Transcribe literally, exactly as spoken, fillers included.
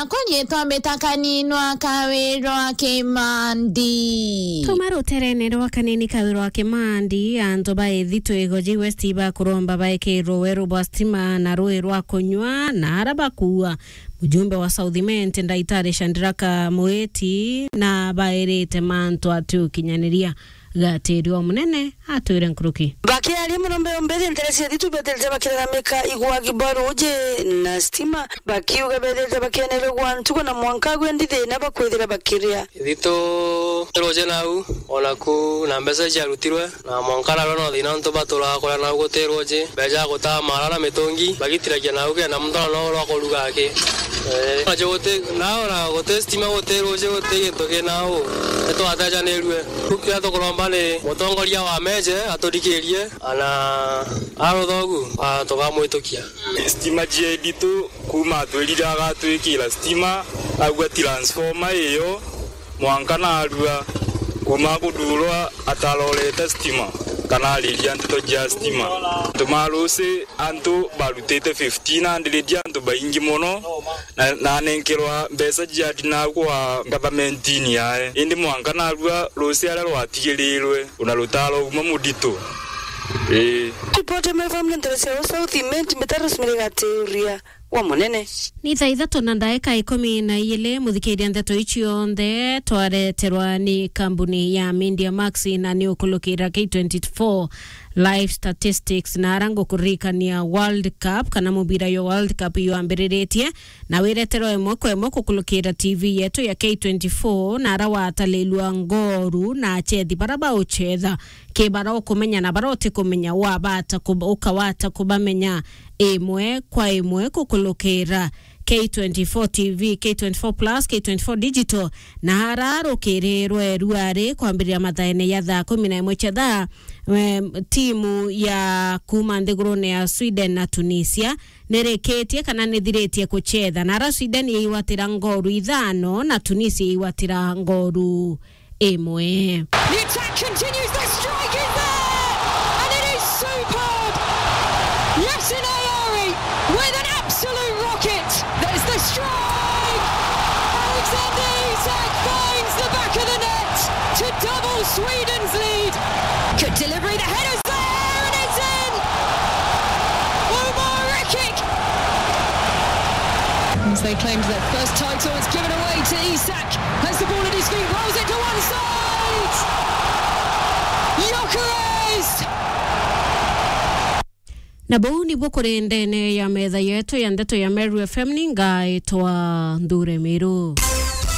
Konyetwa mitakani nwa Kawirwa Kimandi. Tuma ruterene rwa kanini Kawirwa Kimandi, antu ba Ithitwigo ji West bakuromba baikirwe weru bwa stima na rui rwa kunywa na ara bakuua. Mujumbe wa South Imenti, Ndaitari Shandraka Muiti, na bairite mantu ati ukinyaniria. Gatiri o munene atwire nkuruki. Bakiaria, murombe ombere ntere cia thitu beterete bakilalamika igwagi bwa ruuji na stima, bakiuga beterete bakienere gwa ntugo na mwanka gwe ndithi na bakwithira bakiria. Thitu ruuji nau, onaku na mbeca ciarutirwe, na mwanka narua no thina ntu baturaga kuria nau guti ruuji, mbeca gutaa mara na mitungi, bagitiragia nau kenda muntu no rwa kuruga aki. Eh, nacio guti, nao na guti stima, guti ruuji, guti gintu kina u. Nitwatejanirue. Riu kiria tukuromba ni mutongoria wa Meje aturikirie, ana aruthogu, a, tukamwitukia. Stima cia Editu kuma atwirire agatwikira stima, augua transformer iyo, mwanka narua kuma kudurwa atarorete stima, kana ariria nteto cia stima. Tumarusi antu barutite fifteen hundred, antu baingi mono, na, na nenkerwa mbeca cia dinagwa government-ini yae. Indi mwanka narua ruusi aria rwatigirirwe, una rutaro uma mudito. Ii. Ripoti ya Maiva Mlendere cia South Imenti, Mitaro Simiri Gatiuria wa Munene. Ni thaa ithatu na ndaika ikumi na iili, muthikiria ndeto ici cionthe twareterwa ni kambuni ya Media Max na ni ukulukira K twenty-four Live Statistics, na ara ngukuririkania World Cup kana mubira yo World Cup yambiriritie, na wireterwa imwe kwa imwe kukulukira T V yetu ya K twenty-four, na ara watalilua ngoru na achethi bara bauchetha, ki bara ukumenya na bara utikumenya, wabata kub-, ukawata kubamenya imwe kwa imwe kukulukira K twenty-four T V, K twenty-four Plus, K twenty-four Digital, na ara rukirirwe ruari kwambiriria mathaene ya thaa kumi na imwe cia thaa, em, timu ya kuma nthigurune ya Sweden na Tunisia nirikitie kana nithiritie kuchetha, na ara Sweden yaigwatira ngoru ithano na Tunisia yaigwatira ngoru imwe. The attack continues, the strike is there, and it is superb. Yasin Ayari with an absolute rocket. There's the strike. Alexander Isak finds the back of the net to double Sweden's lead. Good delivery, the header's there, and it's in. Omar Rekik. As they claimed their first title, it's given away to Isak. Has the ball at his feet, rolls it to one side. Gyökeres! Na buu nibuo kuri ndene ya metha yetu ya ndeto ya Meru F M, ni ngaitwa Nthure Miru.